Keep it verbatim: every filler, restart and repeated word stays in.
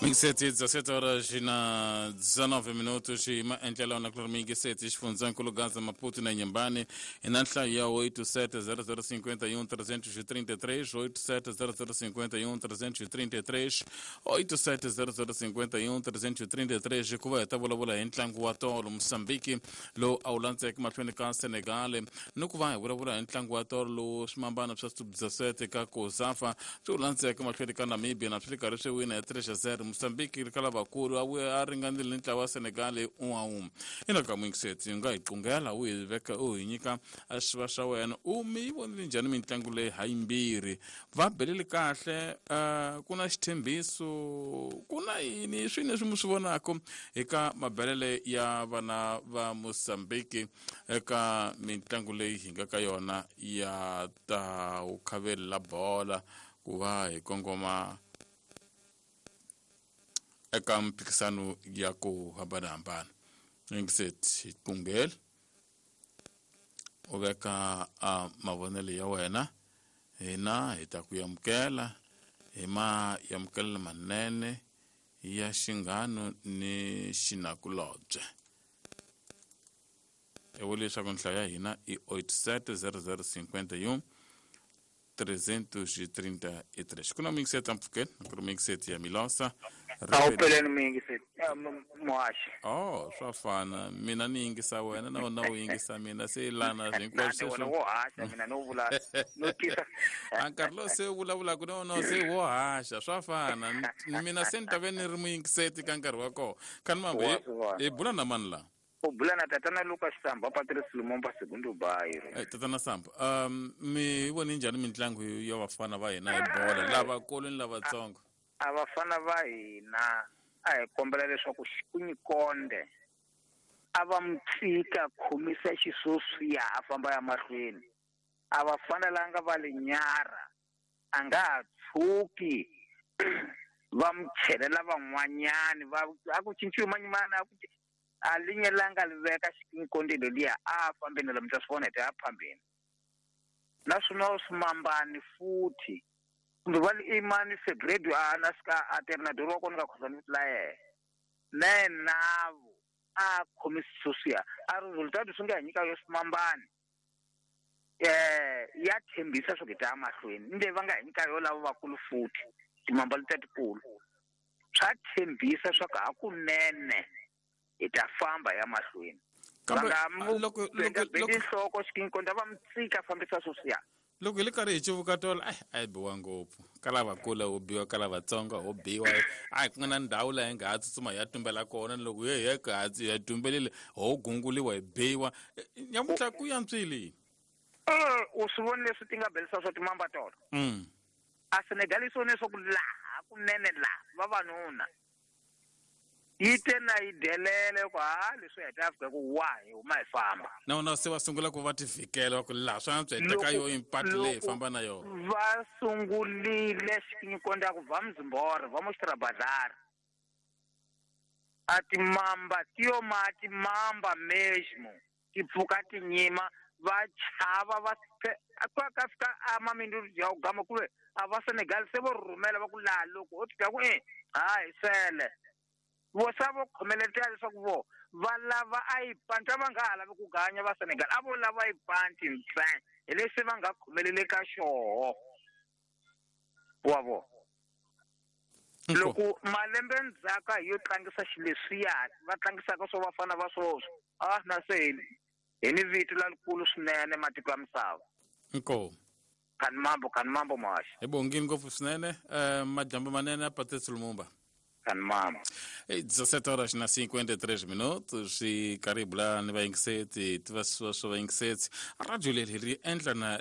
Mingiseti dezessete horas e na dezenove minutos e maendlelo na kulor mingiseti xifundzankulu Gaza Maputo na Inhambane e na nhlayo ya oito sete zero zero cinquenta e um trezentos e trinta e três, oito sete zero zero cinquenta e um trezentos e trinta e três, oito sete zero zero cinquenta e um trezentos e trinta e três hikuva hi ta vulavula hi ntlangu wa tolo Mozambique lowu a wu landzeke mahlweni ka Senegal ni ku va hi vulavula hi ntlangu wa tolo lowu swimambana swa sub dezessete ka COSAFA swi wu landzeke mahlweni ka Namibia na swi ri karhi swi wina hi três a zero. Mozambique ri ka lavakulu a vuya a ringanile ni ntlawa wa Senegal hi un'we a un'we. Ina ka muyingiseti u nga hi qungela u hi veka u hi nyika a xiva xa wena u mi yi vonile njhani mitlangu leyi ha yimbirhi va belele kahle uh, ku na xithembiso ku na yini swi leswi mi swi vonaka eka mabelele ya vana va Mozambique eka mitlangu leyi hi nga ka yona ya ta vukhaveli la bola ku va hi kongoma eka mphikisano ya ku hambanahambana. Yingiseti hi qungele u veka a mavonelo ya wena hina hi ta ku amukela hi ma amukela manene ya xinghano ni xinakulobye. I vula leswaku nhlayo ya hina i oito sete zero zero cinquenta e um trezentos e trinta e três. Ku na muyingiseti la mpfhukeni ku ri muyingiseti ya Milosa. A wu peleni muyingiseti muhaxi. Oh, swa fana mina ni yingisa wena na wena u yingisa mina se lana hinkwaswo wena wo haxa mina no vula no tisa a nkarhi lowu se u vulavulaka na wona se wo haxa swa fana mina se ni ta ve ni ri muyingiseti ka nkarhi wa kona khani mambo hi bula na mani la u bula na tatana Lucas Samba Patrice Lumumba Segundo Bairro. Eh tatana Samba um mi vone njhani mitlangu ya vafana va hina hi bola lavakulu ni lavatsongo? A vafana va hina a hi kombela leswaku Xikunyikonde a va mu tshika khomisa xisoswiya a famba ya mahlweni a va fanelanga va le nyara a nga ha tshuki va mu chelela van'wanyani va a ku cinciwi manyimana a ku a linyelanga li veka Xikunyikonde leliya a fambeni lomu ta swi vona hi ta ya phambeni naswona swimambani futhi kumbe va li imani Febredo a na sika a ternador wa kona ka khosa ni la yena na navo a khomisa sweswiya a resultado swi nga hi nyika yo swimambani eh ya tshembisa swo ta mahlweni ni leyi va nga hi nyika yo lava vakulu futhi timamba letiya tikulu swa tshembisa swa ku hakunene hi ta famba ya mahlweni va nga mu loko loko loko nhloko Xikunyikonde va mu tshika fambisa sweswiya loko hi le karhi hi civuka tolo ai a yi biwa ngopfu ka lavakulu ho biwa ka lavatsongo ho biwa a ku nga na ndhawu laha hi nga ha tsutsuma hi ya tumbela kona ni loko he he ka ha tumbelile ho gunguliwa hi biwa nyamuntlha ku yantswile u swi voni leswi ti nga belisa swa timamba tolo mm. a Senegal yi swi vone leswaku laha kunene laha vavanuna yi te na yi delele ku ha leswi hi ta fika ku wa hi huma hi famba na vona se va sungula ku va ti vhikela va ku laha swa antswa hi teka yo impati leyi hi famba na yona va sungulile Xikunyikonde ku va Mzimbore va Mostrabazar a timamba ti yo ma timamba mesmo ti pfuka ti nyima va chava va ka ka fika a mamindu ya ku gama ku ve a va Senegal se vo rhumela va ku laha loko ho twa ku e ha hi sele vo sa vo khomeletela leswaku vo va lava a yi panti a va nga ha lavi ku ganya va Senegal a vo lava yi panti ntsena hi leswi va nga khomelele ka xoho wa vo loko malembe ndzhaka hi yo tlangisa xileswiya va tlangisaka swo vafana va swoswo a na se hi ni vito lalikulu swinene matiko ya misava inkomu khani mambo khani mambo muhaxi hi bongini ngopfu swinene um madyambu manene Patrice Lumumba Mama. dezessete horas na cinquenta e três minutos e karhi hi bula ni vayingiseti tiva swa swa vayingiseti radio leri ri endla na